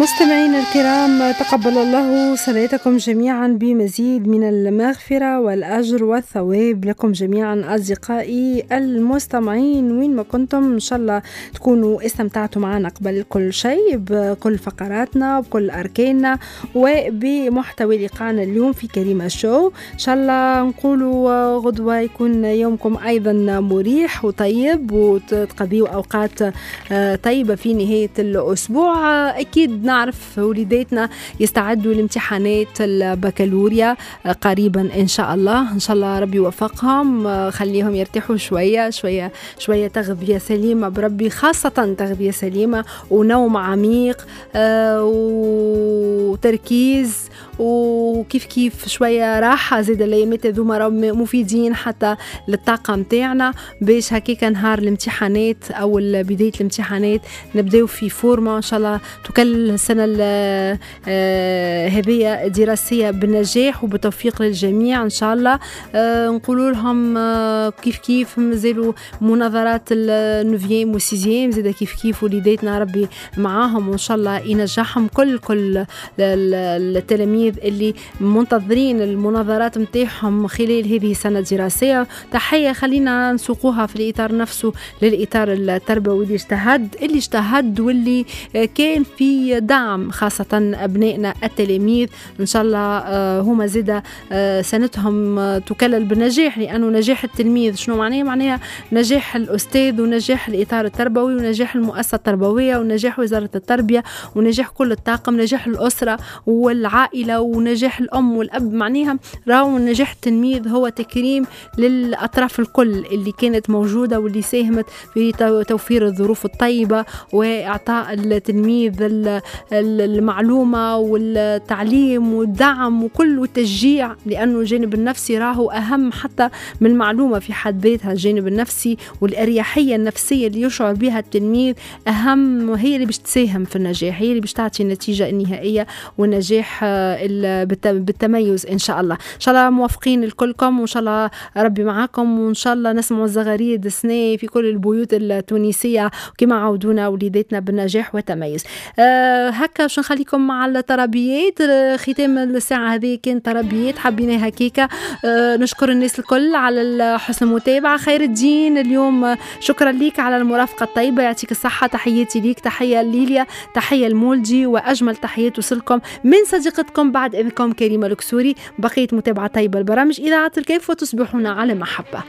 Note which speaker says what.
Speaker 1: مستمعينا الكرام، تقبل الله صلاتكم جميعا بمزيد من المغفرة والأجر والثواب لكم جميعا أصدقائي المستمعين وين ما كنتم. إن شاء الله تكونوا استمتعتوا معنا قبل كل شيء بكل فقراتنا وبكل أركاننا وبمحتوى لقاءنا اليوم في كريمة شو. إن شاء الله نقولوا غدوة يكون يومكم أيضا مريح وطيب وتقضيوا أوقات طيبة في نهاية الأسبوع. أكيد نعرف وليداتنا يستعدوا لامتحانات البكالوريا قريبا إن شاء الله. إن شاء الله ربي يوفقهم، خليهم يرتاحوا شوية شوية شوية، تغذية سليمة بربي، خاصة تغذية سليمة ونوم عميق وتركيز وكيف كيف شوية راحة زاد. الأيامات هذوما راهم مفيدين حتى للطاقة متاعنا باش هكاك نهار الامتحانات أو بداية الامتحانات نبداو في forme. إن شاء الله تكلل السنة هذه دراسية بالنجاح وبالتوفيق للجميع إن شاء الله. نقولوا لهم كيف كيف مازالوا مناظرات ال neuvième وال sixième زاد كيف كيف، وليداتنا ربي معاهم وإن شاء الله ينجحهم كل التلاميذ اللي منتظرين المناظرات متاعهم خلال هذه السنة الدراسية. تحية خلينا نسوقوها في الإطار نفسه للإطار التربوي اللي اجتهد واللي كان في دعم خاصة أبنائنا التلاميذ. إن شاء الله هما زادة سنتهم تكلل بالنجاح، لأنه نجاح التلميذ شنو معناه؟ معناها نجاح الأستاذ ونجاح الإطار التربوي ونجاح المؤسسة التربوية ونجاح وزارة التربية ونجاح كل الطاقم، نجاح الأسرة والعائلة ونجاح الأم والأب. معناها راهو نجاح التلميذ هو تكريم للأطراف الكل اللي كانت موجودة واللي ساهمت في توفير الظروف الطيبة وإعطاء التلميذ المعلومة والتعليم والدعم وكل والتشجيع، لأنه الجانب النفسي راهو أهم حتى من المعلومة في حد ذاتها. الجانب النفسي والأريحية النفسية اللي يشعر بها التلميذ أهم، وهي اللي باش تساهم في النجاح، هي اللي باش تعطي النتيجة النهائية والنجاح بالتميز إن شاء الله. إن شاء الله موفقين الكلكم وإن شاء الله ربي معاكم، وإن شاء الله نسمعوا الزغاريد السنة في كل البيوت التونسية كما عودونا وليداتنا بالنجاح والتميز. هكا باش نخليكم مع الطربيات. ختام الساعة هذه كان طربيات حبيناها هكيكا. نشكر الناس الكل على حسن المتابعة. خير الدين اليوم شكرا لك على المرافقة الطيبة، يعطيك الصحة، تحياتي ليك، تحية ليليا، تحية المولدي، وأجمل تحيات توصلكم من صديقتكم بعد إذنكم كريمة الكسوري. بقية متابعة طيبة البرامج إذاعة الكيف وتصبحون على محبة.